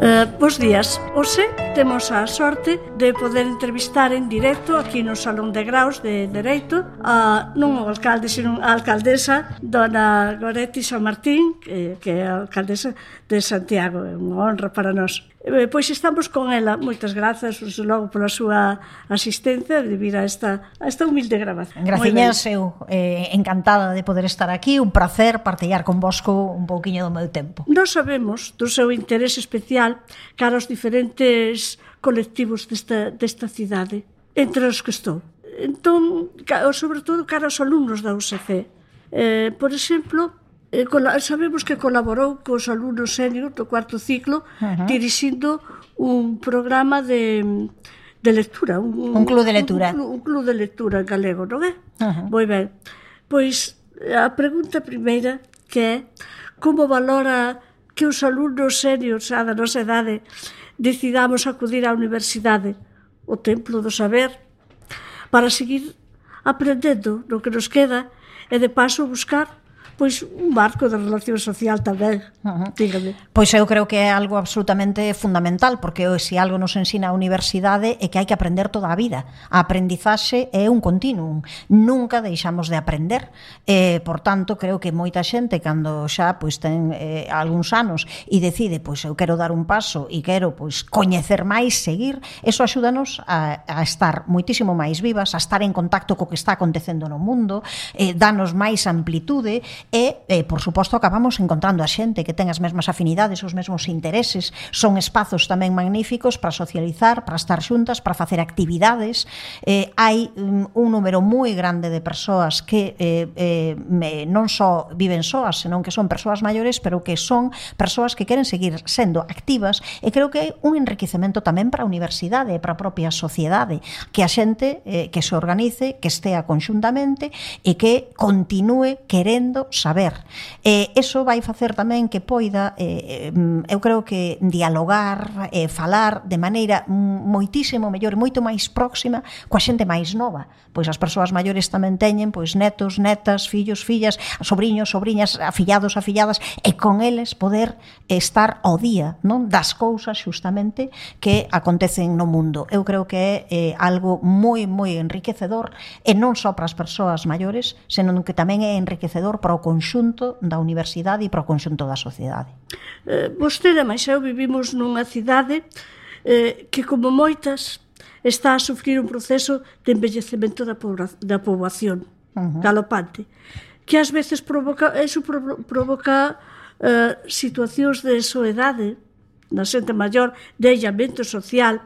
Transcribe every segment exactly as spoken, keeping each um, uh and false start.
Uh, bos días. Hoxe temos a sorte de poder entrevistar en directo aquí no Salón de Graos de Dereito a non o alcalde, sino a alcaldesa dona Goretti San Martín, que, que é a alcaldesa de Santiago. É unha honra para nós. Eh, pois estamos con ela. Moitas grazas, logo, pola súa asistencia de vir a esta, a esta humilde grabación. Graciñas, eu eh, encantada de poder estar aquí. Un placer partillar con vosco un pouquiño do meu tempo. Nós sabemos do seu interés especial cara aos diferentes colectivos desta, desta cidade, entre os que estou. Entón, sobre todo cara aos alumnos da U S C. Eh, por exemplo, eh, sabemos que colaborou cos alumnos senior do cuarto ciclo, uh-huh, dirixindo un programa de, de lectura. Un, un club de lectura. Un, un, un club de lectura galego, non é? Uh-huh. Moi ben. Pois, a pregunta primeira que é como valora que os alumnos seniors a da nosa idade decidamos acudir á universidade, o templo do saber, para seguir aprendendo no que nos queda e de paso buscar pois un marco de relación social tamén. Uh-huh. Dígame. Pois eu creo que é algo absolutamente fundamental, porque se algo nos ensina a universidade é que hai que aprender toda a vida. A aprendizaxe é un continuum. Nunca deixamos de aprender. Eh, por tanto, creo que moita xente, cando xa pois ten eh, algúns anos e decide, pois eu quero dar un paso e quero pois coñecer máis, seguir, eso axúdanos a, a estar moitísimo máis vivas, a estar en contacto co que está acontecendo no mundo, eh, danos máis amplitude. E, eh, por suposto, acabamos encontrando a xente que ten as mesmas afinidades, os mesmos intereses. Son espazos tamén magníficos para socializar, para estar xuntas, para facer actividades. Eh, hai um, un número moi grande de persoas que eh, eh, non só viven soas, senón que son persoas maiores, pero que son persoas que queren seguir sendo activas, e creo que hai un enriquecemento tamén para a universidade e para a propia sociedade, que a xente eh, que se organice, que estea conxuntamente e que continúe querendo saber. Eh, eso vai facer tamén que poida, eh, eu creo que dialogar, eh, falar de maneira moitísimo mellor e moito máis próxima coa xente máis nova. Pois as persoas maiores tamén teñen pois netos, netas, fillos, fillas, sobriños, sobriñas, afillados, afilladas, e con eles poder estar ao día, non, das cousas xustamente que acontecen no mundo. Eu creo que é eh, algo moi, moi enriquecedor, e non só para as persoas maiores, senón que tamén é enriquecedor para o conxunto da universidade e para o conxunto da sociedade. Eh, vostede, máis eu, vivimos nunha cidade eh, que, como moitas, está a sufrir un proceso de envellecemento da, pobra, da poboación, uh-huh, galopante, que ás veces provoca, eso provoca eh, situacións de soedade na xente maior, de aillamento social.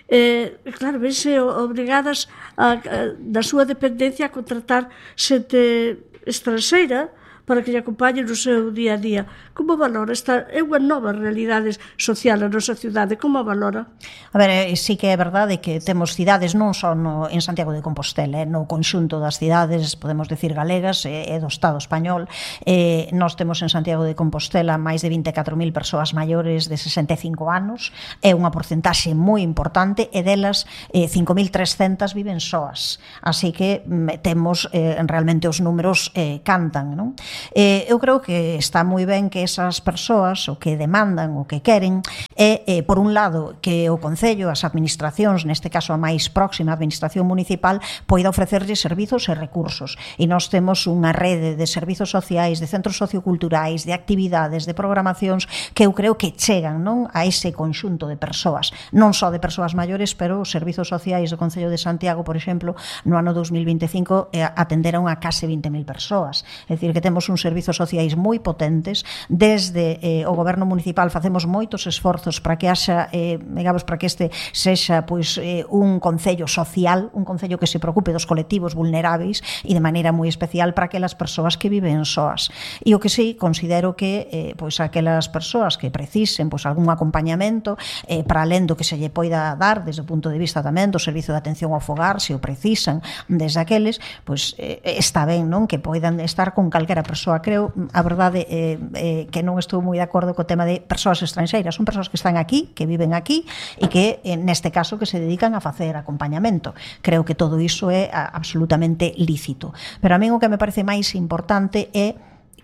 Eh, claro, vense obrigadas a, a, da súa dependencia a contratar xente estranxeira para que lle acompañe no seu día a día. Como valora esta é unha nova realidade social na nosa cidade? Como a valora? A ver, sí que é verdade que temos cidades non só no, en Santiago de Compostela, eh, no conxunto das cidades, podemos decir galegas, e eh, do Estado español. Eh, nós temos en Santiago de Compostela máis de vinte e catro mil persoas maiores de sesenta e cinco anos, é unha porcentaxe moi importante, e delas eh, cinco mil trescentas viven soas. Así que mm, temos eh, realmente os números eh, cantan, non? Eh, eu creo que está moi ben que esas persoas o que demandan, o que queren é, eh, por un lado, que o Concello, as administracións, neste caso a máis próxima, a administración municipal, poida ofrecerlle servizos e recursos. E nós temos unha rede de servizos sociais, de centros socioculturais, de actividades, de programacións que eu creo que chegan, non, a ese conxunto de persoas, non só de persoas maiores, pero os servizos sociais do Concello de Santiago, por exemplo, no ano dos mil vinte e cinco eh, atenderon a case vinte mil persoas. É dicir, que temos uns servizos sociais moi potentes. Desde eh, o goberno municipal facemos moitos esforzos para que haxa, eh, digamos, para que este sexa pois eh, un concello social, un concello que se preocupe dos colectivos vulneráveis e de maneira moi especial para aquelas persoas que viven soas. E o que sí, considero que eh, pois aquelas persoas que precisen pois algún acompañamento eh, para alén do que se lle poida dar desde o punto de vista tamén do servizo de atención ao fogar, se o precisan desde aqueles, pois eh, está ben, non, que poidan estar con calquera persoa. Creo, a verdade, eh, eh, que non estou moi de acordo co tema de persoas estranxeiras. Son persoas que están aquí, que viven aquí e que, eh, neste caso, que se dedican a facer acompañamento. Creo que todo iso é a, absolutamente lícito. Pero a mí o que me parece máis importante é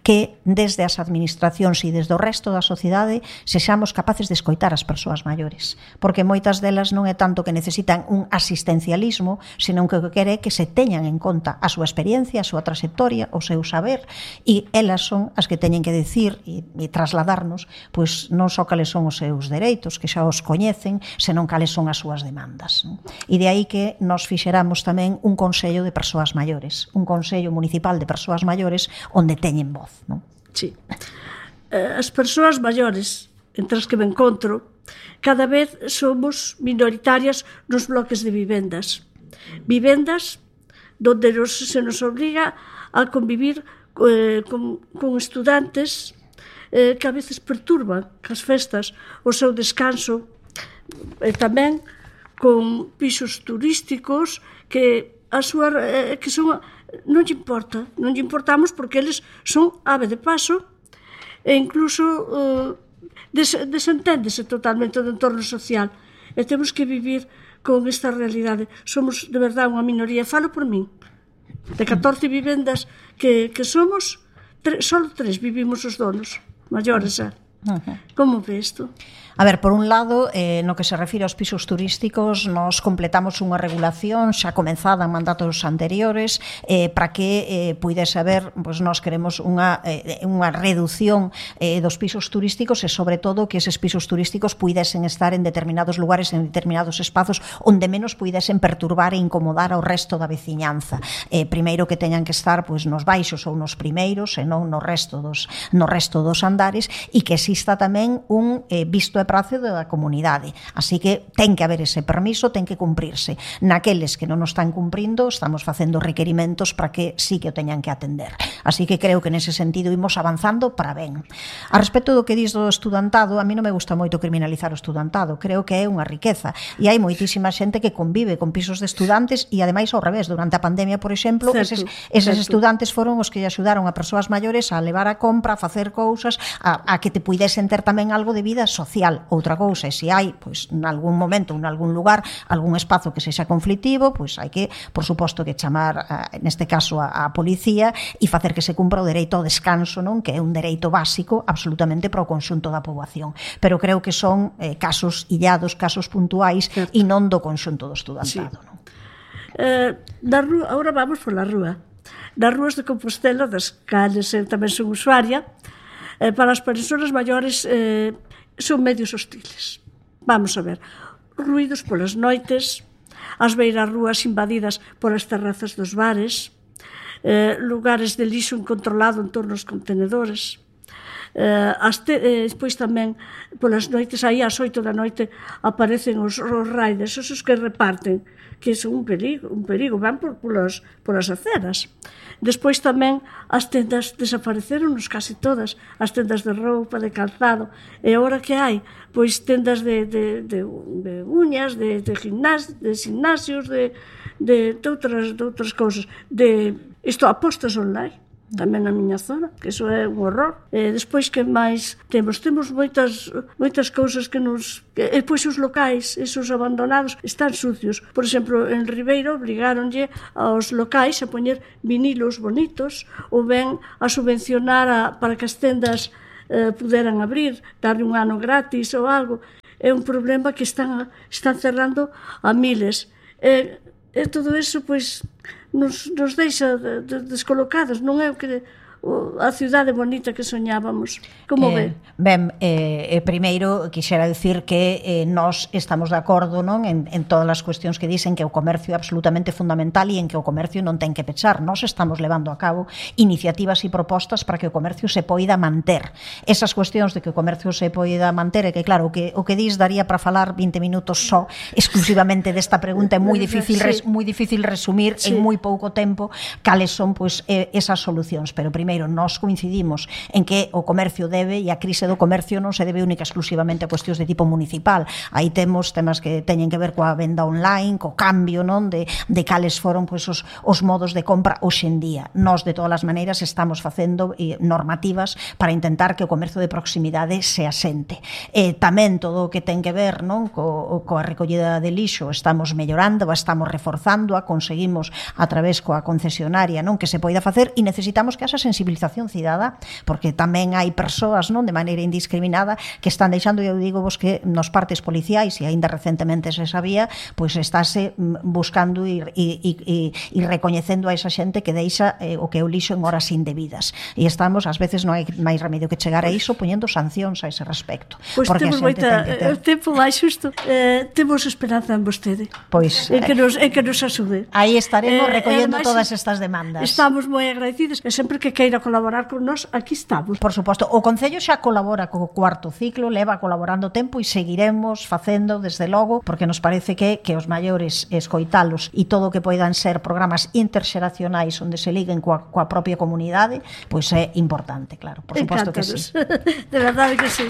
que desde as administracións e desde o resto da sociedade sexamos capaces de escoitar as persoas maiores, porque moitas delas non é tanto que necesitan un asistencialismo, senón que o que quere é que se teñan en conta a súa experiencia, a súa trayectoria, o seu saber, e elas son as que teñen que decir e, e trasladarnos pois non só cales son os seus dereitos, que xa os coñecen, senón cales son as súas demandas, non? E de aí que nos fixeramos tamén un consello de persoas maiores, un consello municipal de persoas maiores onde teñen voz, non? Sí. As persoas maiores, entre as que me encontro, cada vez somos minoritarias nos bloques de vivendas. Vivendas donde nos, se nos obriga a convivir eh, con, con estudantes eh, que a veces perturban as festas, o seu descanso, e tamén con pisos turísticos que a súa eh, que son non lle importa, non lle importamos porque eles son ave de paso e incluso eh, des, desenténdese totalmente do entorno social e temos que vivir con esta realidade. Somos de verdade unha minoría, falo por min, de catorce vivendas que, que somos, tre, só tres vivimos os donos maiores, eh? Uh-huh. Como ve isto? A ver, por un lado, eh, no que se refire aos pisos turísticos, nos completamos unha regulación xa comenzada en mandatos anteriores eh, para que eh, puidese haber, pois nós queremos unha, eh, unha reducción eh, dos pisos turísticos e sobre todo que eses pisos turísticos puidesen estar en determinados lugares, en determinados espazos onde menos puidesen perturbar e incomodar ao resto da veciñanza. Eh, primeiro que teñan que estar pois nos baixos ou nos primeiros e non no resto dos, no resto dos andares e que exista tamén un eh, visto e prazo da comunidade. Así que ten que haber ese permiso, ten que cumprirse. Naqueles que non o están cumprindo, estamos facendo requerimentos para que sí que o teñan que atender. Así que creo que nese sentido imos avanzando para ben. A respecto do que dis do estudantado, a mí non me gusta moito criminalizar o estudantado. Creo que é unha riqueza. E hai moitísima xente que convive con pisos de estudantes e ademais ao revés. Durante a pandemia, por exemplo, certo, eses, eses estudantes foron os que lle axudaron a persoas maiores a levar a compra, a facer cousas, a, a que te puidesen ter tamén algo de vida social. Outra cousa, e se hai, pois, en algún momento, en algún lugar, algún espazo que sexa conflictivo, pois hai que, por suposto, que chamar, neste caso, a, a policía e facer que se cumpra o dereito ao descanso, non? Que é un dereito básico absolutamente para o conxunto da poboación. Pero creo que son eh, casos illados, casos puntuais e non do conxunto do estudantado, sí. Non? Eh, na rúa, agora vamos pola rúa. Nas rúas de Compostela, das cales eu tamén son usuaria, eh, para as persoas maiores eh, son medios hostiles. Vamos a ver, ruídos polas noites, as beiras rúas invadidas polas terrazas dos bares, eh, lugares de lixo incontrolado en torno aos contenedores. Eh, te, eh, despois tamén polas noites, aí ás oito da noite aparecen os, os riders, esos que reparten, que son un perigo, un perigo, van por, polas, polas aceras. Despois tamén as tendas desapareceron casi todas, as tendas de roupa, de calzado, e agora que hai? Pois tendas de, de, de, de uñas, de, de, gimnas, de gimnasios, de, de, de, outras, de outras cousas, de isto, apostas online, tamén na miña zona, que iso é un horror. E despois que máis temos? Temos moitas moitas cousas que nos... E depois os locais, esos abandonados, están sucios. Por exemplo, en Ribeiro obrigáronlle aos locais a poñer vinilos bonitos ou ben a subvencionar a, para que as tendas eh, puderan abrir, darle un ano gratis ou algo. É un problema que están, están cerrando a miles. E, e todo eso, pois... Nos, nos deixa de, de, descolocados, non é o que o, a cidade bonita que soñábamos. Como eh, ve? Ben, eh, primeiro quixera dicir que eh, nós estamos de acordo, non, en, en todas as cuestións que dicen que o comercio é absolutamente fundamental e en que o comercio non ten que pechar. Nós estamos levando a cabo iniciativas e propostas para que o comercio se poida manter. Esas cuestións de que o comercio se poida manter, é que claro, o que, o que dis daría para falar vinte minutos só exclusivamente desta pregunta, é moi difícil, res, moi difícil resumir sí. en moi pouco tempo cales son pois, eh, esas solucións, pero primeiro nós coincidimos en que o comercio debe, e a crise do comercio non se debe única exclusivamente a cuestións de tipo municipal. Aí temos temas que teñen que ver coa venda online, co cambio, non, de, de cales foron pois, os, os modos de compra hoxe en día. Nós, de todas as maneiras, estamos facendo eh, normativas para intentar que o comercio de proximidade se asente. E tamén todo o que ten que ver, non, co, coa recollida de lixo, estamos mellorando, estamos reforzando, a conseguimos a través coa concesionaria, non, que se poida facer, e necesitamos que haxa sensibilización sensibilización cidadá, porque tamén hai persoas, non, de maneira indiscriminada que están deixando, eu digo vos que nos partes policiais, e aínda recentemente se sabía, pois estáse buscando e, e, e, e recoñecendo a esa xente que deixa eh, o que é o lixo en horas indebidas, e estamos, ás veces non hai máis remedio que chegar a iso poñendo sancións a ese respecto. Pois temos moita, o tempo máis xusto, eh, temos esperanza en vostede, pois, en que nos, en que nos axude. Aí estaremos eh, recollendo además, todas estas demandas. Estamos moi agradecidos, e sempre que queira colaborar con nós, aquí estamos. Por suposto, o Concello xa colabora co cuarto ciclo, leva colaborando tempo e seguiremos facendo desde logo, porque nos parece que que os maiores escoitalos e todo o que poidan ser programas interxeracionais onde se liguen coa, coa propia comunidade, pois é importante, claro, por suposto que sí. De verdade que sí.